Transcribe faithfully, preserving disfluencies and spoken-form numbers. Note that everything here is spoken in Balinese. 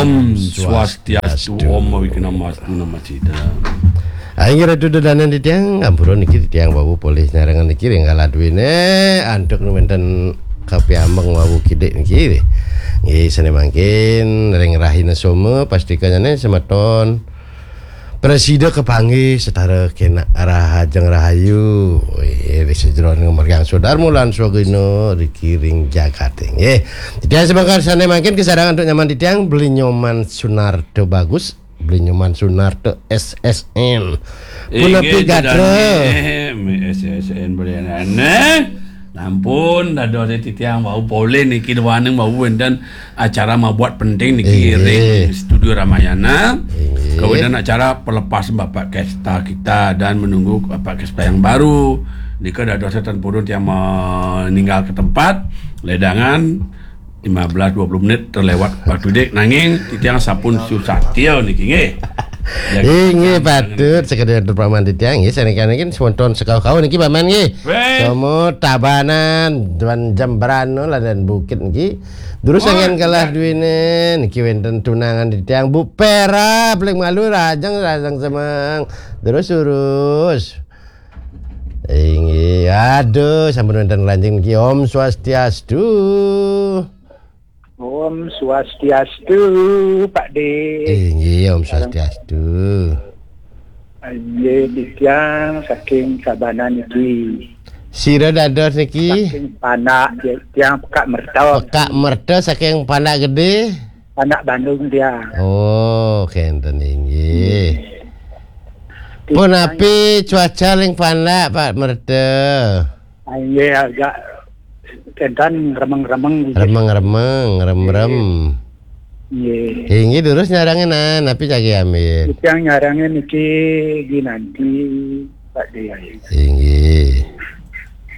Hmm, swastiastu, Om Awignamastu Namo Sidham. Inggih Ratu Dodanan titiang, ampura niki titiang wau polih nyarengan niki ring galah duene antuk nu wenten kapiambeng wau kidik niki. Nggih, sane mangkin ring rahina Soma pastikanyane semeton prasida kapanggih setara kenak rahajeng rahayu. Nggih, ri sajeroning margiang swadarma lan swagina riki ring jagate. Nggih. Titiang semangkar sane mangkin kasareng antuk nyaman titiang Beli Nyoman Sunarta Bagus, Beli Nyoman Sunarta S S N. Punapi gatra? S S N Beli Nyoman. Nampun dados titiang wau polih niki duaning wau wenten acara mabuat penting niki ring studio Ramayana. Inggih. Kawitan acara pelepas Bapak Kesta kita dan menunggu Bapak Kesta yang baru. Nika dados ten purun tiang meninggal ke tempat, ledangan lima belas dua puluh menit terlewat waktu dik, nanging titiang sampun susah tiang niki nggih. Inggih, patut sekadi atur paman titiang nggih, sanika niki semeton sekau-kau niki paman nggih. Weh. Semua Tabanan, Tuan Jembrana, Ladan Bukit niki. Terus anggen galah duene niki wenten tunangan titiang Bu Pera, paling malu rajang, rajang semeng. Terus urus. Inggih, aduh, sampun wenten lanjing niki. Om Swastiastu. Om Swastiastu, Pak De. Inggih, Om Swastiastu. Inggih, titiang saking Tabanan niki. Sira dados niki? Saking Panak, tiang Pekak Merta. Pekak Merta saking Panak Gede? Panak Bandung tiang. Oh, kenten inggih. Punapi cuaca ring Panak, Pak Merta? Ah, inggih, agak kenten remeng-remeng nggih. Remeng-remeng, rem-rem. Inggih. Inggih, durus nyarengin, nah, napi jagi amin? Titiang nyarengin niki ginanti, Pak De. Inggih.